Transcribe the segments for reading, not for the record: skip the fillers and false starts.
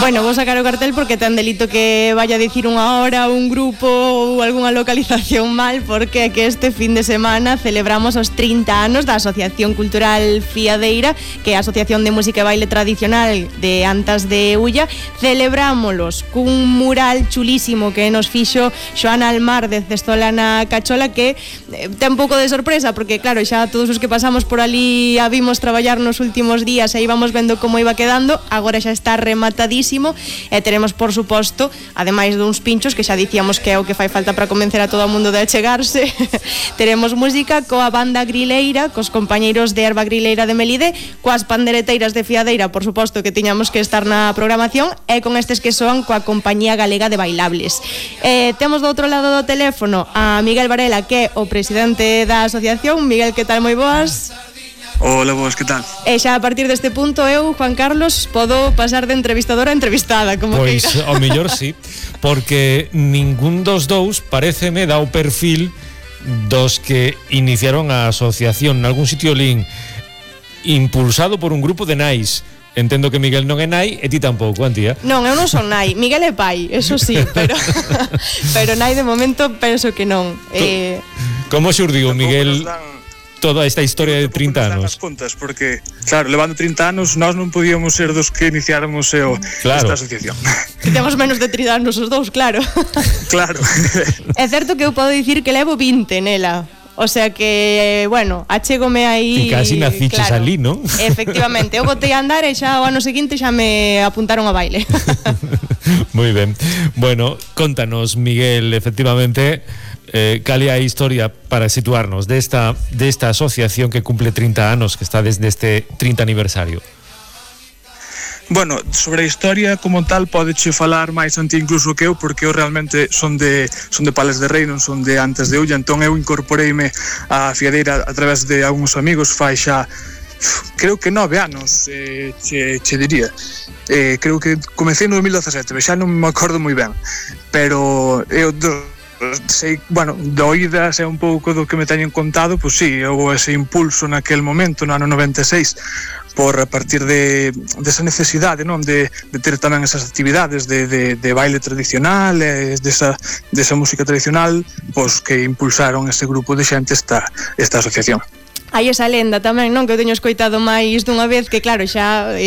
Bueno, vou sacar o cartel porque ten delito que vaya a dicir unha hora un grupo ou algunha localización mal, porque é que este fin de semana celebramos os 30 anos da Asociación Cultural Fiadeira, que é a Asociación de Música e Baile Tradicional de Antas de Ulla. Celebrámolos cun mural chulísimo que nos fixo Xoana Almar de Cestola na Cachola, que ten un pouco de sorpresa porque claro, xa todos os que pasamos por ali a vimos traballar nos últimos días e íbamos vendo como iba quedando. Agora xa está rematadísimo e teremos, por suposto, ademais duns pinchos que xa dicíamos que é o que fai falta para convencer a todo o mundo de achegarse, teremos música coa banda grileira, cos compañeiros de Erva Grileira de Melide, coas pandereteiras de Fiadeira, por suposto que tiñamos que estar na programación, e con estes que soan coa Compañía Galega de Bailables. Temos do outro lado do teléfono a Miguel Varela, que é o presidente da asociación. Miguel, que tal? Moi boas. Hola, vos, que tal? E xa a partir deste punto eu, Juan Carlos, podo pasar de entrevistadora a entrevistada, como pois, queira. Ao mellor sí, porque ningún dos dous pareceme dá o perfil dos que iniciaron a asociación. Nalgún sitio lin impulsado por un grupo de nais. Entendo que Miguel non é nai e ti tampouco, Antía. Non, eu non son nai. Miguel é pai, eso sí, pero pero nai de momento penso que non. Como xurdiu, Miguel, toda esta historia de 30 anos? Contas, porque, claro, levando 30 anos, nós non podíamos ser dos que iniciáramos esta asociación. Que temos menos de 30 anos os dous, claro. Claro. É certo que eu podo dicir que levo 20 nela. O sea que, bueno, achégome aí... Ti casi naciches claro, ali, non? Efectivamente, eu botei a andar e xa o ano seguinte xa me apuntaron a baile. Moi ben. Bueno, contanos, Miguel, efectivamente, cal é a historia para situarnos desta asociación que cumple 30 anos, que está desde este 30 aniversario. Bueno, sobre a historia como tal podeche falar máis Antía incluso que eu, porque eu realmente son de Pales de Rei, non son de Antas de Ulla, entón eu incorporeime á Fiadeira a través de algúns amigos fai xa creo que 9 anos, che diría. Creo que comecei no 2017, xa non me acordo moi ben, pero eu sei, bueno, de oídas é un pouco do que me teñen contado, pois sí, houve ese impulso naquel momento, no ano 96, por a partir desa necesidade, non, de ter tamén esas actividades de baile tradicional, desa música tradicional, pois que impulsaron ese grupo de xente esta asociación. Hai esa lenda tamén, non, que eu teño escoitado máis dunha vez, que claro, xa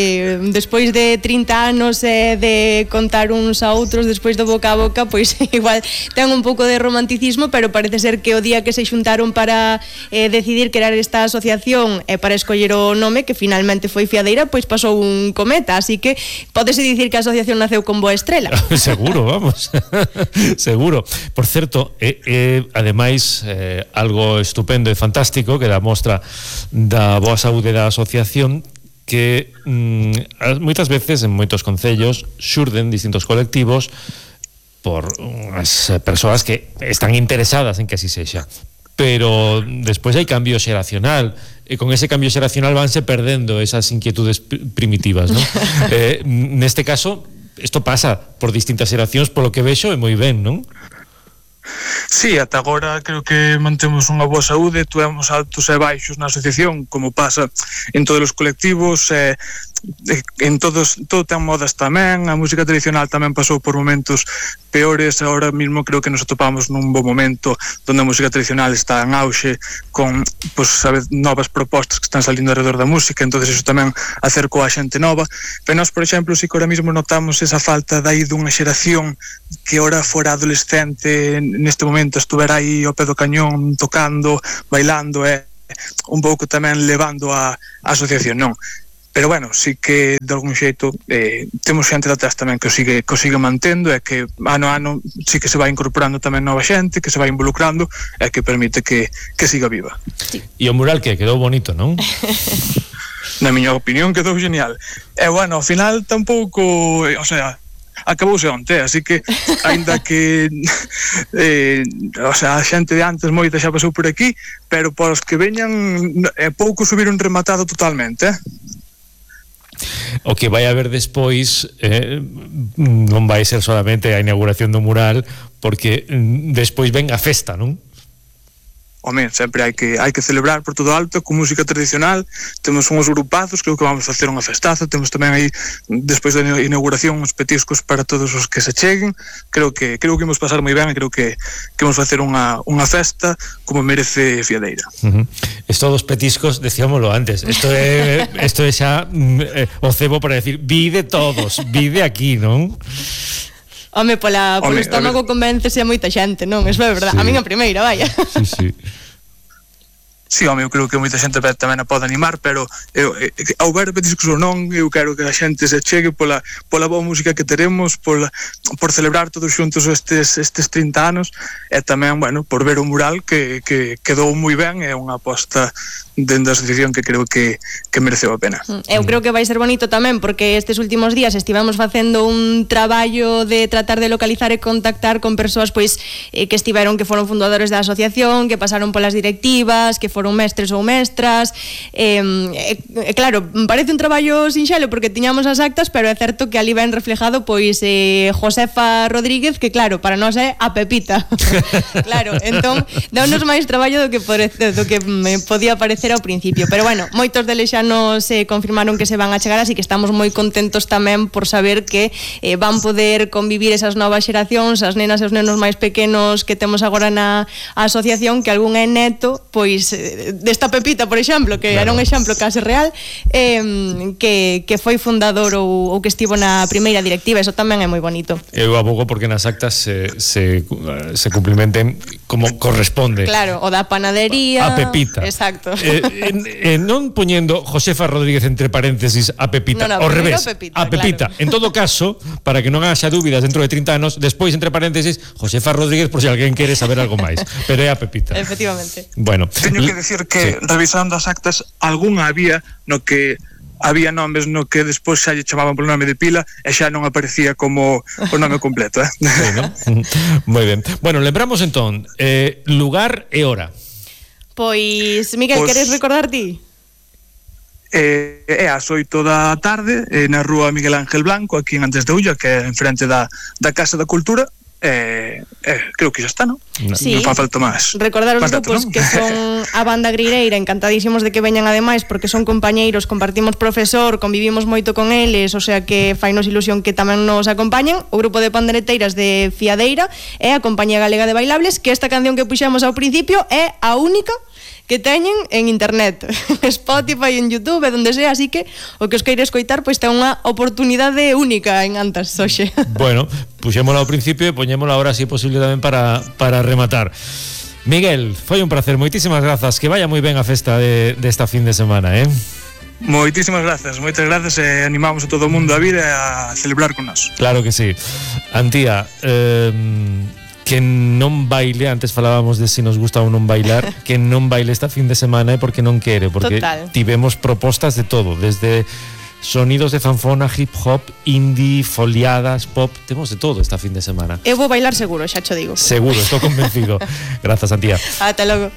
despois de 30 anos de contar uns a outros, despois do boca a boca, pois igual ten un pouco de romanticismo, pero parece ser que o día que se xuntaron para decidir crear esta asociación e para escoller o nome, que finalmente foi Fiadeira, pois pasou un cometa, así que pódese dicir que a asociación naceu con boa estrela. Seguro, vamos. Seguro. Por certo, ademais, algo estupendo e fantástico que dá mostra da boa saúde da asociación, que moitas veces en moitos concellos xurden distintos colectivos por as persoas que están interesadas en que así sexa, pero despois hai cambio xeracional e con ese cambio xeracional vanse perdendo esas inquietudes primitivas, ¿no? Neste caso isto pasa por distintas xeracións, polo que vexo, e moi ben, non? Sí, ata agora creo que mantemos unha boa saúde, tuvemos altos e baixos na asociación, como pasa en todos os colectivos, en todo ten modas tamén, a música tradicional tamén pasou por momentos peores, agora mesmo creo que nos atopamos nun bo momento onde a música tradicional está en auxe con, pues, novas propostas que están salindo alrededor da música, entonces eso tamén acercou a xente nova, pero nós, por exemplo, si que ahora mesmo notamos esa falta de aí dunha xeración que ahora fora adolescente neste momento estuvera aí ao pé do cañón tocando, bailando un pouco tamén levando a asociación, non? Pero bueno, sí que de algún xeito temos xente de atrás tamén que o sigue mantendo e que ano a ano sí que se vai incorporando tamén nova xente, que se vai involucrando e que permite que siga viva. E o mural que quedou bonito, non? Na miña opinión quedou genial. E bueno, ao final tampouco, o sea, acabouse onte, así que aínda que o sea, a xente de antes moita xa pasou por aquí, pero para os que veñan pouco subiron rematado totalmente, O que vai haber despois non vai ser solamente a inauguración do mural, porque despois ven a festa, non? home, sempre hai que celebrar por todo alto con música tradicional. Temos uns grupazos, creo que vamos facer unha festaza. Temos tamén aí, despois da inauguración, uns petiscos para todos os que se cheguen. Creo que imos pasar moi ben e creo que imos facer unha festa como merece Fiadeira. Esto dos petiscos, decíamoslo antes, isto é xa o cebo para decir, vide todos, vide aquí, non? Home, polo estómago convéncese a moita xente, non? Eso é verdade, sí. A min a primeira, vaya. Sí. Sí, home, eu creo que moita xente tamén a pode animar, pero ao ver petiscos ou non, eu quero que a xente se chegue pola boa música que teremos, por celebrar todos xuntos estes 30 anos, e tamén, bueno, por ver o mural que quedou moi ben, é unha aposta dentro da asociación que creo que mereceu a pena. Eu creo que vai ser bonito tamén, porque estes últimos días estivemos facendo un traballo de tratar de localizar e contactar con persoas pois que foron fundadores da asociación, que pasaron polas directivas, que foron mestres ou mestras, claro, parece un traballo sinxelo porque tiñamos as actas, pero é certo que ali ven reflejado pois Josefa Rodríguez, que claro, para nós é a Pepita. Claro, entón dá-nos máis traballo do que me podía parecer ao principio, pero bueno, moitos deles xa nos confirmaron que se van a chegar, así que estamos moi contentos tamén por saber que van poder convivir esas novas xeracións, as nenas e os nenos máis pequenos que temos agora na asociación, que algún é neto pois desta Pepita, por exemplo, que claro, era un exemplo case real, que foi fundador ou que estivo na primeira directiva. Eso tamén é moi bonito. Eu abogo porque nas actas se cumplimenten como corresponde. Claro, o da panadería, a Pepita. Exacto. Non poñendo Josefa Rodríguez entre paréntesis a Pepita, no, ao revés, Pepita, a Pepita. Claro. En todo caso, para que non haxa dúbidas dentro de 30 anos, despois entre paréntesis Josefa Rodríguez por se alguén quere saber algo máis, pero é a Pepita. Efectivamente. Bueno, teño que decir que revisando as actas, algunha había no que había nomes no que despois xa lle chamaban polo nome de pila e xa non aparecía como o nome completo, Sí, ¿no? Moi ben. Bueno, lembramos entón lugar e hora. Pois, Miguel, queres recordar ti? É ás 8 da tarde na rúa Miguel Ángel Blanco, aquí en Antes de Ulla, que é enfrente da Casa da Cultura. Creo que xa está, non? Sí. Non fa falta máis. Recordar os grupos, ¿no? Que son a banda Grireira, encantadísimos de que veñan ademais, porque son compañeiros, compartimos profesor, convivimos moito con eles, o sea que fainos ilusión que tamén nos acompañen. O grupo de pandereteiras de Fiadeira e a Compañía Galega de Bailables, que esta canción que puxemos ao principio é a única que teñen en internet, Spotify, en YouTube, donde sea, así que o que os queire escoitar pois ten unha oportunidade única en Antas hoxe. Bueno, puxémola ao principio e poñémola ahora si é posible tamén para rematar. Miguel, foi un placer, moitísimas grazas, que vaya moi ben a festa desta fin de semana, Moitísimas grazas, moitas grazas e animamos a todo o mundo a vir e a celebrar con nós. Claro que sí. Antía, que non baile, antes falábamos de si nos gusta ou non bailar, que non baile esta fin de semana é porque non quere, porque total, tivemos propostas de todo, desde sonidos de zanfona, hip hop, indie, foliadas, pop, temos de todo esta fin de semana. Eu vou bailar seguro, xa cho digo. Seguro, estou convencido. Grazas, Antía. Ata logo.